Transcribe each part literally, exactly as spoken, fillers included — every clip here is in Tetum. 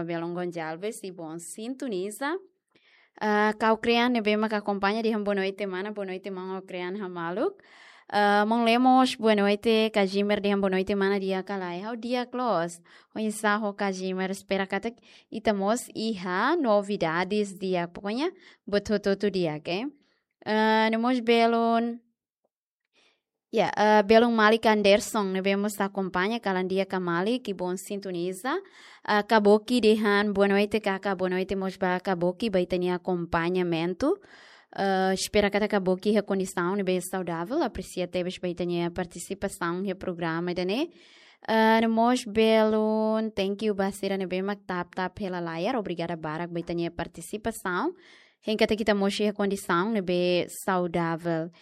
Belun Gonçalves, i bon sintoniza. Ah, Kau Krean ne'ebé mak akompaña dehan boa noite mana, boa noite maun Kau Krean hamaluk. Ah, maun Lemos, boa noite, Kajimer dehan boa noite mana, di'ak ka lae? Ha'u di'ak loos. Oinsá ho Kajimer, espera katak ita mós iha novidades di'ak, pokoknya buat hotu-hotu di'ak, eh. Ah, no mós belun Ya, eh, belun Malik Anderson ne'ebé mós akompaña, kalan di'ak ka Malik, i bon sintoniza. Eh, Kaboki dehan boa noite kaka, boa noite mós ba Kaboki, ba ita-nia akompañamentu. Eh, espera katak Kaboki iha kondisaun ne'ebé saudavel, apresia tebes ba ita-nia partisipasaun iha programa ida-ne'e. Eh, no mós belun, thank you ba sira ne'ebé mak tap-tap hela layar, obrigada barak ba ita-nia partisipasaun. Hein katak ita mós iha kondisaun ne'ebé saudavel.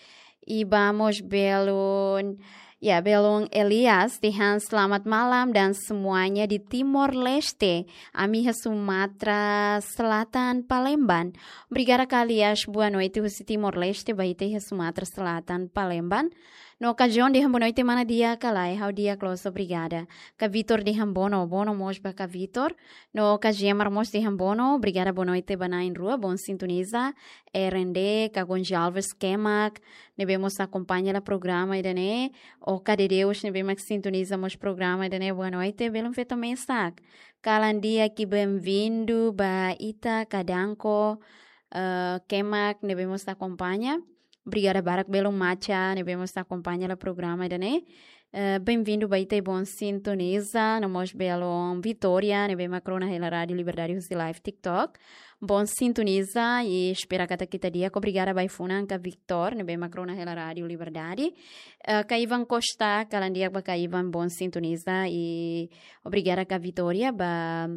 I ba mós belun, ya, belun Elias dehan selamat malam dan semuanya di Timor Leste. Ami iha Sumatra Selatan, Palembang. Obrigada ka Elias, boa noite husi Timor Leste, ba ita iha Sumatra Selatan, Palembang. No Kajon dehan boa noite mana, di'ak ka lae? Ha'u di'ak loos, obrigada. Ka Vitor dehan bono, bono mós ba ka Vitor. No Kajemar mós dehan bono, obrigada, boa noite ba na'in-rua, bon sintoniza. R N D, Ka Gonçalves Kemak ne'ebé mós akompaña hela programa ida-ne'e. Oka Dedeus ne'ebé mak sintoniza mós programa ida-ne'e, boa noite, belun feto mesak. Kalan di'ak i benvindu ba ita, Ka Danko, eh, Kemak ne'ebé mós akompaña. Obrigada barak belun Macha ne'ebé mós akompaña hela programa ida-ne'e. Eh, benvindu ba ita i bon sintoniza, no mós belun Vitória ne'ebé mak rona hela Rádio Liberdade husi live TikTok. Bon sintoniza i espera katak ita di'ak, obrigada ba ai-funan ka Victor ne'ebé mak rona hela Rádio Liberdade. Eh, ka Ivan Costa, kalan di'ak ba ka Ivan, bon sintoniza i obrigada ka Vitória ba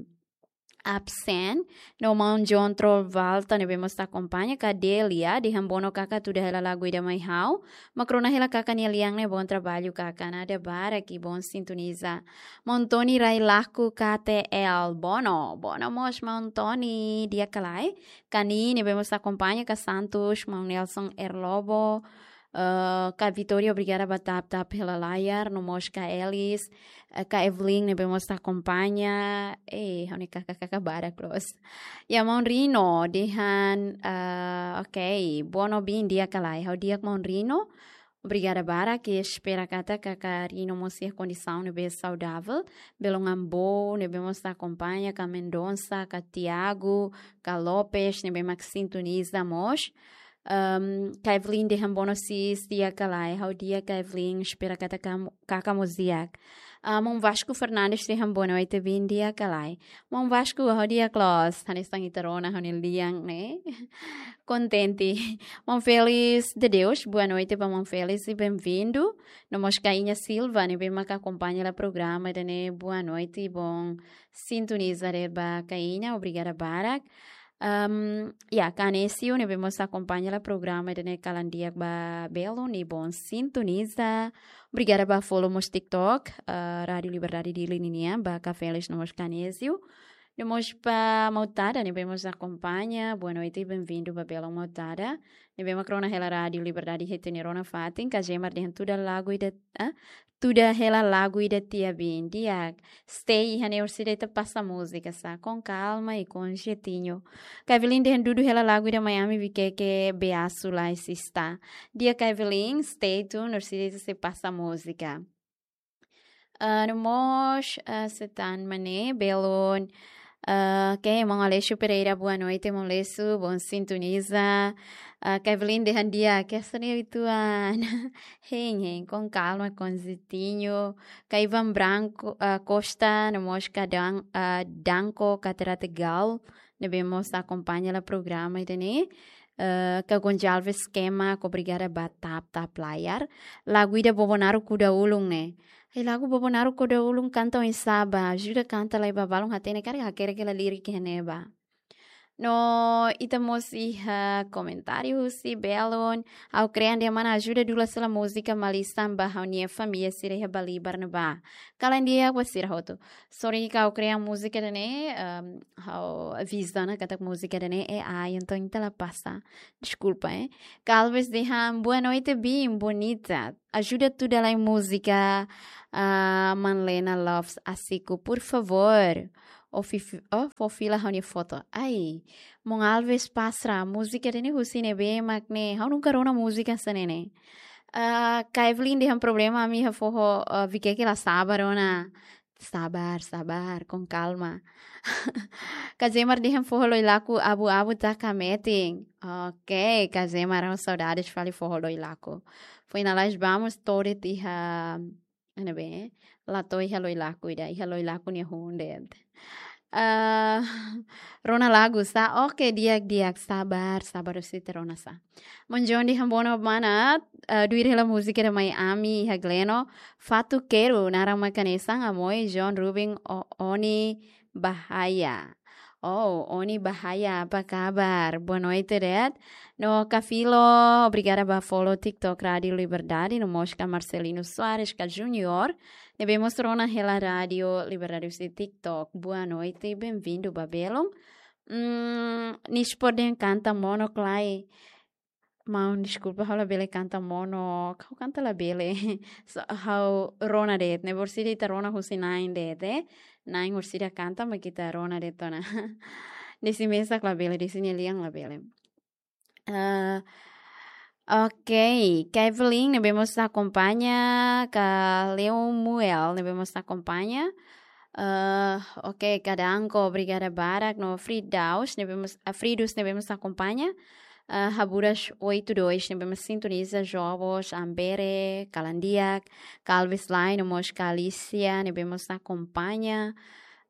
absen. No maun John Trovalta ne'ebé mós akompaña, ka Delia dehan bono kaka, tuda hela lagu ida mai ha'u. Mak rona hela kaka nia lian ne'e, bon trabalho kaka, nada barak i bon sintoniza. Maun Tony Railaku K T L, bono, bono mós maun Tony, di'ak ka lae? Ka Ni ne'ebé mós akompaña, ka Santos, maun Nelson R Lobo, eh, ka Vitória, obrigada ba tap-tap hela layar, no mós ka Elis, eh, ka Evelyn ne'ebé mós akompaña, eh, ha'u-nia kaka-kaka barak loos. Ya, maun Rino dehan, eh, ok, bono bin, di'ak ka lae? Ha'u di'ak maun Rino. Obrigada barak, i espera katak kaka Rino mós iha kondisaun ne'ebé saudavel. Belun Ambo ne'ebé mós akompaña, ka Mendonça, ka Tiago, ka Lopes ne'ebé mak sintoniza mós. Ehm, ka Evelyn dehan bono sis, di'ak ka lae? Ha'u di'ak ka Evelyn, espera katak kam-, kaka mós di'ak. Ah, maun Vasco Fernandes dehan boa noite bin, di'ak ka lae? Maun Vasco, ha'u di'ak loos, hanesan ita rona ha'u-nia lian ne'e. Kontente. Maun Félix de Deus, boa noite ba maun Félix i benvindu. No mós ka Iña Silva ne'ebé mak akompaña hela programa ida-ne'e, boa noite i bon sintoniza de'it ba ka Iña, obrigada barak. Ehm, ya, ka Anésio ne'ebé mós akompaña hela programa ida-ne'e, kalan di'ak ba belun i bon sintoniza. Obrigada ba follow mós TikTok, eh, Rádio Liberdade Dili ninian, ba ka Félix no mós ka Anésio. No mós ba Mautada ne'ebé mós akompaña, boa noite i benvindu ba belun Mautada. Ne'ebé mak rona hela Rádio Liberdade iha ita-nia rona fatin, ka Jemar dehan tuda lagu ida, ah, tuda hela lagu ida tiha bin, di'ak. Stay iha ne'e orsida ita pasa múzika sá, com calma e com jeitinho. Ka Evelyn dehan dudu hela lagu ida Miami Viqueque Beasu Lai Sista. Di'ak ka Evelyn, stay tune, orsida ita sei pasa múzika. Ah, no mós, ah, sei tan mane, belun. Ah, ke, maun Aleixo Pereira, boa noite, maun Aleixo, bon sintoniza. Ah, ka Evelyn dehan di'ak, ke seni ituan. Hein, hein, com calma, com jeitinho. Ka Ivan Branco, ah, Costa, no mós ka Dan-, ah, Danco, ka Terate Gal, ne'ebé mós akompaña hela programa ida-ne'e. Eh, ka Gonçalves Kemak, obrigada ba tap-tap layar. Lagu ida Bobo Naruk Kuda Ulun ne'e. Ai, lagu Bobo Naruk Kuda Ulun kanta oinsá ba, ajuda kanta lai ba balun hatene karik hakerek hela lirik iha ne'ebá. No ita mós iha komentáriu husi belun. Ha'u Krean dehan mana, ajuda dula sela múzika malisan ba ha'u-nia família sira iha Balibar ne'ebá. Kalan di'ak ba sira hotu. Sorry ka Ha'u Krean múzika ida-ne'e, ehm, ha'u avisa ona katak múzika ida-ne'e A I, entaun ita la pasa. Deskulpa, eh. Ka Alves dehan, boa noite, bin, bonita. Ajuda tuda lai múzika, ah, Manlena Loves Asiku, por favor. Ó fi-, ó fó fila ha'u-nia foto. Ai, maun Alves Pastra, múzika ida-ne'e husi ne'ebé mak ne'e? Ha'u nunka rona múzika hanesan ne'e. Ah, Kevlin dehan problema ami iha foho, ah, Viqueque la saba rona. Sabar, sabar, com calma. Kazemar dehan foho Loilaku abu-abu taka metin. Ok, Kazemar, ha'u saudades fali foho Loilaku. Foin lalais ba mós to'o de'it iha, ne'ebé, la to'o iha Loilaku ida, iha Loilaku nia hun de'it. Ah, rona lagu sá, ok, di'ak, di'ak, sabar, sabar, husi ita rona sá. Maun John dehan bono mana, ah, duir hela múzika ida mai ami iha Gleno, Fatuk Keru, naran mak hanesan, Amoy, John, Ruben, O-, Oni, Bahaya. Oh, Oni Bahaya, apa kabar? Boa noite, de'it. No Kafilo, obrigada ba follow TikTok Rádio Liberdade, no mós ka Marcelino Soares, ka Junior, ne'ebé mós rona hela Rádio Liberdade husi TikTok. Boa noite, bem-vindo ba belun. Hmm, nis por den kanta monok lai. Maun, deskulpa, ha'u labele kanta monok. Ha'u kanta labele. So, ha'u rona de'it, ne'e orsida ita rona husi na'in de'it, eh. Na'in orsida kanta, mak ita rona de'it ona. Desi mesak labele, desi nia lian labele. Ah, ok, Kevlin, ne'ebé mós akompaña, ka Leomuel, ne'ebé mós akompaña. Ah, ok, Kadanko, obrigada barak, no Fridaus, ne'ebé mós, ah, Fridus, ne'ebé mós akompaña. Ah, Haburas oito dois, ne'ebé mós sintoniza, Jobos, Ambere, kalan di'ak, Kalvis Lai, no mós ka Alicia, ne'ebé mós akompaña.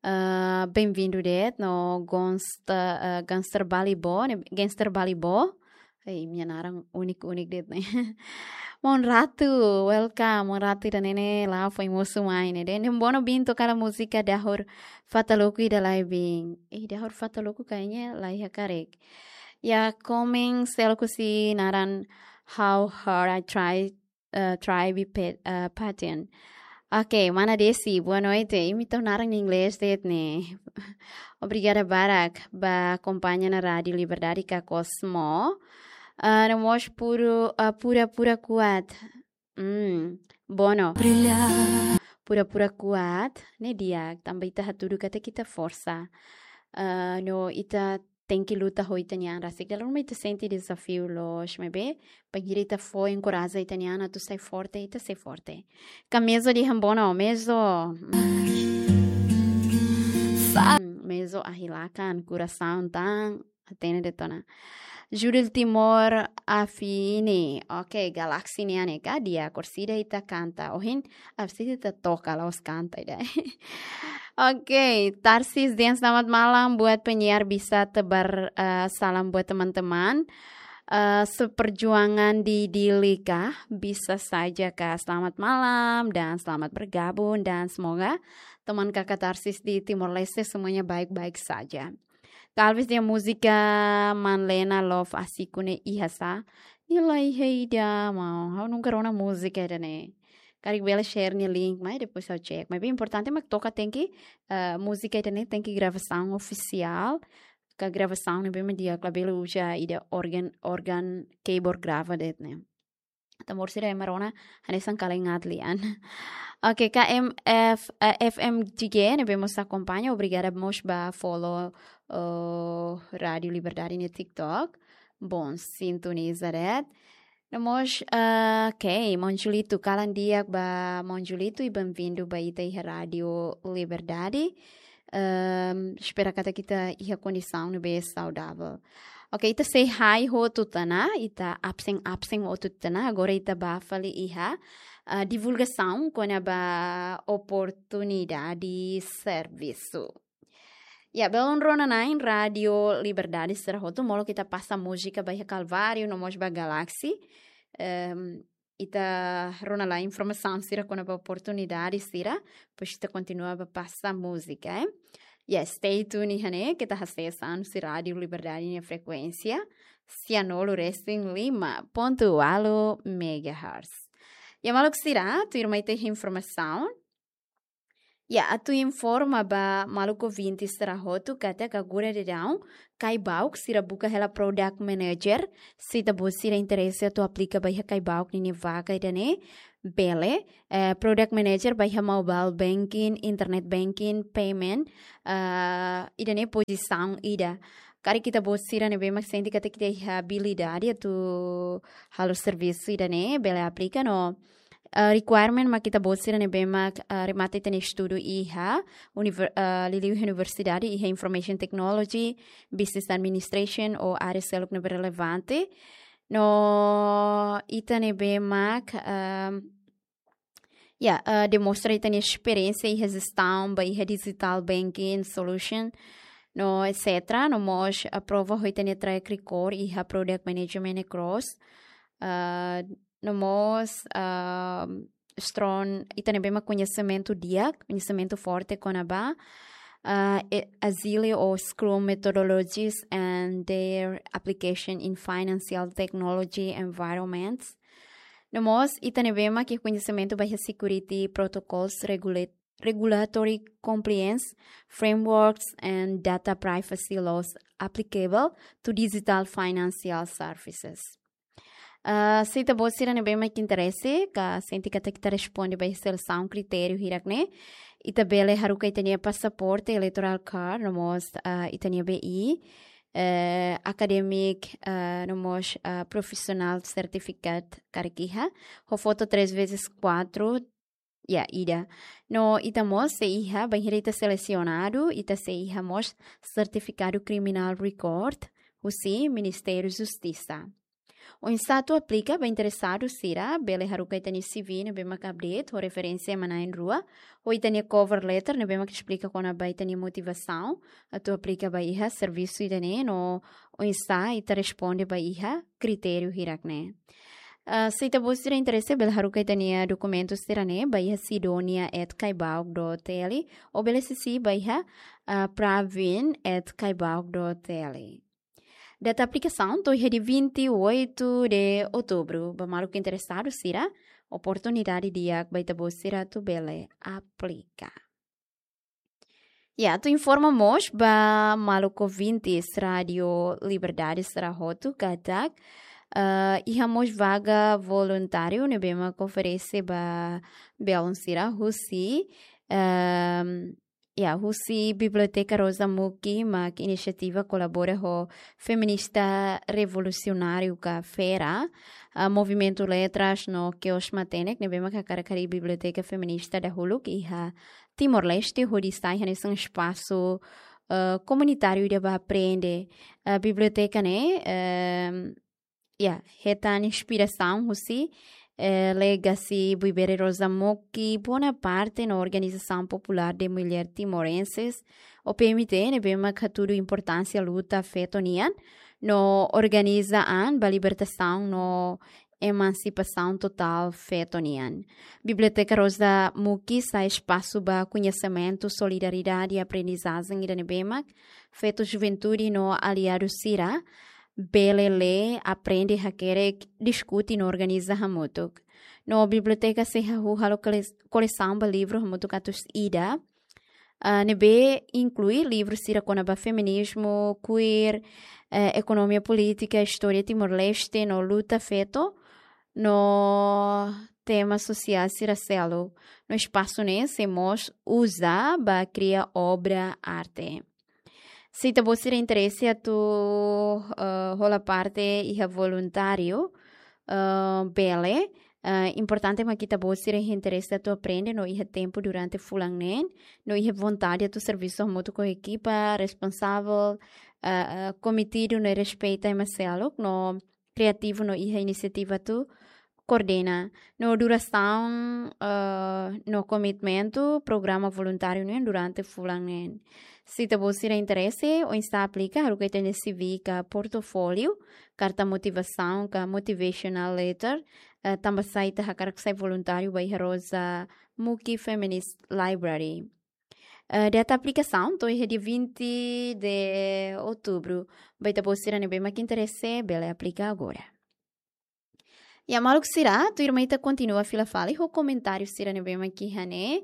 Ah, bem-vindo de'it, no Gonsta-, ah, Gangster Balibo, ne'e, Gangster Balibo. Ei, nia naran unik-unik de'it ne'e. Maun Ratu, welcome. Maun Ratu ida-ne'e ne'e la'o foin mosu mai ne'e de'it. Ne'e bono bin toka hela múzika Dahur Fataloku ida lai bin. Eh, Dahur Fataloku kayaknya la iha karik. Ya, komen seluk husi naran How Hard I Try, eh, Try Be Pa-, eh, Patient. Ok, mana Desi, boa noite. Imi tau naran inglés de'it ne'e. Obrigada barak ba akompaña ona Rádio Liberdade ka Cosmo. Ah, no mós puru-, ah, pura-pura kuat. Hmm, bono. Pura-pura kuat, ne'e di'ak, tanba ita hatudu katak ita forsa. Ah, no ita tenke luta ho ita-nia an rasik. Dala ruma ita sente dezafiu loos, maibé, bainhira ita fó enkoraja ita-nia an atu sai forte, ita sai forte. Ka Mezo dehan bono, Mezo. Hmm, Mezo ahi lakan, kurasaun tan, hatene de'it ona. Judil Timor Afini. Ok, Galaxy nian ne'e ka, di'ak, orsida ita kanta. Ohin, orsida ita toka, la'ós kanta ida. Ok, Tarsis dehan selamat malam buat penyiar, bisa tebar, eh, salam buat teman-teman. Eh, seperjuangan di Dili kah? Bisa saja kah? Selamat malam dan selamat bergabung dan semoga teman kakak Tarsis di Timor Leste semuanya baik-baik saja. Talvez dehan múzika Manlena Love Asiku ne'e iha sá? Nia la iha ida, maun. Ha'u nunka rona múzika ida-ne'e. Karik bele share nia link, mai depois ha'u check. Maibé importante mak toka tenke, eh, múzika ida-ne'e tenke gravasaun ofisiál. Ka gravasaun ne'ebé mak di'ak, labele uza ida organ, organ keyboard grava de'it ne'e. Tanba orsida ema rona hanesan kalengat lian. Ok, K M F, eh, F M G G ne'ebé mós akompaña, obrigada mós ba follow, oh, Rádio Liberdade nia TikTok. Bom, sintoniza de'it. No mós, ah, ok, maun Julito, kalan di'ak ba maun Julito i bem-vindo ba ita iha Rádio Liberdade. Ehm, espera katak ita iha kondisaun ne'ebé saudavel. Ok, ita say hi hotu tiha ona, ita absen-absen hotu tiha ona, agora ita bá fali iha, ah, divulgasaun kona-ba oportunidade servisu. Ya, belun rona-na'in Rádio Liberdade sira hotu, molok ita pasa múzika ba iha Kalváriu, no mós ba Galaxy. Ehm, ita rona lai informasaun sira kona-ba oportunidade sira, depois ita kontinua ba pasa múzika, eh. Ya, stay tuned iha ne'e, keta hasees an husi Rádio Liberdade nia frekuénsia, sianulu resin lima pontu ualu megahertz. Ya, maluk sira, tuirmai ita iha informasaun. Ya, atu informa ba maluk ouvinte sira hotu katak agora daudaun, Caibauk sira buka hela product manager, se ita-boot sira interese atu aplika ba iha Caibauk ninia vaga ida-ne'e, bele, eh, product manager ba iha mobile banking, internet banking, payment, eh, ida-ne'e pozisaun ida. Karik ita-boot sira ne'ebé mak sente katak ita iha abilidade atu halo servisu ida-ne'e, bele aplika no, eh, requirement mak ita-boot sira ne'ebé mak, eh, remata ita-nia estudu iha univer-, eh, liuliu universidade iha Information Technology, Business Administration ou área seluk ne'ebé relevante. No ita ne'ebé mak, ehm, ya, eh, demonstra ita-nia esperiénsia iha jestaun ba iha digital banking solution, no et cetera. No mós, eh, prova ho ita-nia track record iha product management across. Eh, no mós, ehm, strong, ita ne'ebé mak koñesimentu di'ak, koñesimentu forte kona-ba, eh, e-, Agile ou Scrum methodologies and their application in financial technology environments. No mós, ita ne'ebé mak iha koñesimentu ba iha security protocols, regula-, regulatory compliance frameworks and data privacy laws applicable to digital financial services. Ah, se ita-boot sira ne'ebé mak interese, ka sente katak ita responde ba iha selesaun kritériu hirak-ne'e, ita bele haruka ita-nia pasaporte, electoral card, no mós, ah, ita-nia B I, eh, academic, ah, no mós, ah, professional certificate karik iha, ho foto três vezes quatro, ya, ida. No ita mós sei iha, bainhira ita selesionadu, ita sei iha mós sertifikadu criminal record husi Ministériu Justisa. Oinsá atu aplika, ba interesadu sira bele haruka ita-nia C V ne'ebé mak update ho referénsia ema na'in-rua, ho ita-nia cover letter ne'ebé mak esplika kona-ba ita-nia motivasaun atu aplika ba iha servisu ida-ne'e, no oinsá ita responde ba iha kritériu hirak-ne'e. Ah, se ita-boot sira interese, bele haruka ita-nia dokumentu sira-ne'e ba iha sidonia at kaibauk dot T L, ou bele sisi ba iha, ah, pravin at kaibauk dot T L. Data aplikasaun to'o iha dia vinte e oito de outubro. Ba maluk interesadu sira, oportunidade di'ak ba ita-boot sira atu bele aplika. Ya, atu informa mós ba maluk ouvintes Rádio Liberdade sira hotu katak, eh, iha mós vaga voluntáriu ne'ebé mak oferese ba belun sira husi, ehm, ya, husi Biblioteka Rosa Muki, mak inisiativa kolabora ho Feminista Revolusionáriu ka FERA, ah, Movimentu Letras no Kios Matenek, ne'ebé mak hakarak harii biblioteka feminista dahuluk iha Timor-Leste, hodi sai hanesan espasu, eh, komunitáriu ida ba aprende. Eh, biblioteka ne'e, ehm, ya, hetan inspirasaun husi, eh, legasi Buibere Rosa Muki, Bonaparte no Organização Popular de Mulher Timorenses, ou P M T, ne'ebé mak hatudu importánsia luta feto nian, no organiza an ba libertasaun no emansipasaun totál feto nian. Biblioteka Rosa Muki sai espasu ba koñesimentu, solidariedade, aprendizajen ida ne'ebé mak feto, juventude no aliadu sira bele lee, aprende, hakerek, diskute no organiza hamutuk. No biblioteka sei hahú halo kole-, kolesaun ba livru hamutuk atus ida, ah, ne'ebé inklui livru sira kona-ba feminizmu, queer, eh, ekonomia polítika, istória Timor-Leste no luta feto, no tema sosiál sira seluk. No espasu ne'e sei mós uza ba kria obra arte. Se ita-boot sira interese atu, eh, hola parte iha voluntáriu, eh, bele, eh, importante mak ita-boot sira iha interese atu aprende no iha tempu durante fulan neen, no iha vontade atu servisu hamutuk ho ekipa responsavel, eh, eh, kometidu no respeita ema seluk, no kreativu no iha inisiativa atu koordena. No durasaun, eh, no komitmentu programa voluntáriu ne'e durante fulan neen. Se ita-boot sira interese, oinsá aplika, haruka ita-nia C V ka portofóliu, karta motivasaun ka motivational letter, eh, tanba sá ita hakarak sai voluntáriu ba iha Rosa Muki Feminist Library. Eh, data aplikasaun to'o iha dia vinte de outubro. Ba ita-boot sira ne'ebé mak interese, bele aplika agora. Ya, maluk sira, tuirmai ita kontinua fila fali ho komentáriu sira ne'ebé mak iha ne'e.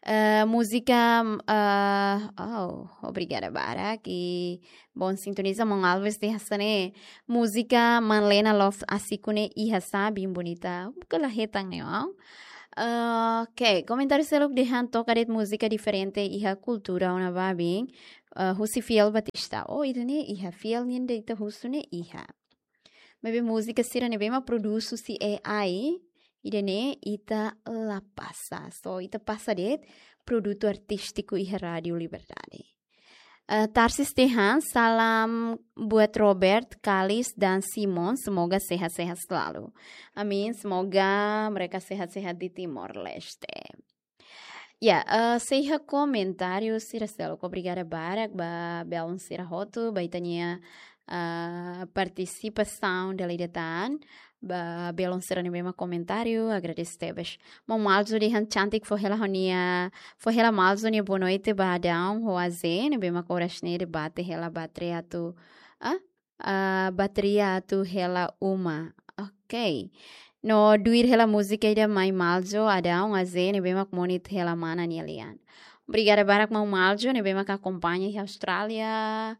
Eh, múzika, eh, oh, obrigada barak. I bom sintoniza, maun Alves dehan hanesan ne'e. Múzika Manlena Love Asiku ne'e iha sa, bem bonita. Buka la hetan ne'e, ó. Eh, ok, komentáriu seluk dehan toka de'it múzika diferente iha kultura ona ba bem. Eh, husi Fiel Batista. Oh, ida-ne'e iha Fiel nian de'it husu ne'e iha. Maibé múzika sira ne'ebé mak produz husi A I, ida-ne'e ita la pasa. So, ita pasa de'it produtu artístiku iha Rádio Liberdade. Eh, Tarsis dehan, salam buat Robert, Kalis, dan Simon, semoga sehat-sehat selalu. Amin, semoga mereka sehat-sehat di Timor Leste. Ya, eh, sei iha komentáriu sira seluk, obrigada barak ba belun sira hotu, ba ita-nia, eh, partisipasaun dala ida tan, ba belun sira ne'ebé mak komentáriu, agradese tebes. Maun Malzo dehan cantik, fó hela ho-nia, fó hela Malzo nia boa noite ba Adão ho Azé, ne'ebé mak oras ne'e debate hela bateria atu, ah? Ah, bateria atu hela uma. Ok. No tuir hela múzika ida mai Malzo, Adão, Azé, ne'ebé mak monit hela mana nia lian. Obrigada barak maun Malzo, ne'ebé mak akompaña iha Austrália.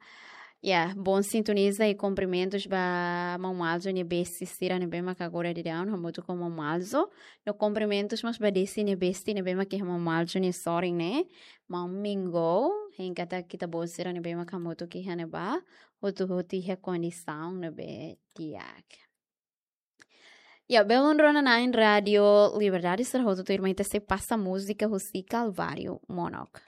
Ya, bom sintoniza i kumprimentus ba maun Malzo nia besti sira ne'ebé mak agora daudaun hamutuk ho maun Malzo. No kumprimentus mós ba Desi nia besti ne'ebé mak iha maun Malzo nia sorin ne'e. Maun Mingo, hein katak ita-boot sira ne'ebé mak hamutuk iha ne'ebá. Hotu-hotu iha kondisaun ne'ebé di'ak. Ya, belun rona-na'in Rádio Liberdade sira hotu tuirmai ita sei pasa múzika husi Calvário Monok.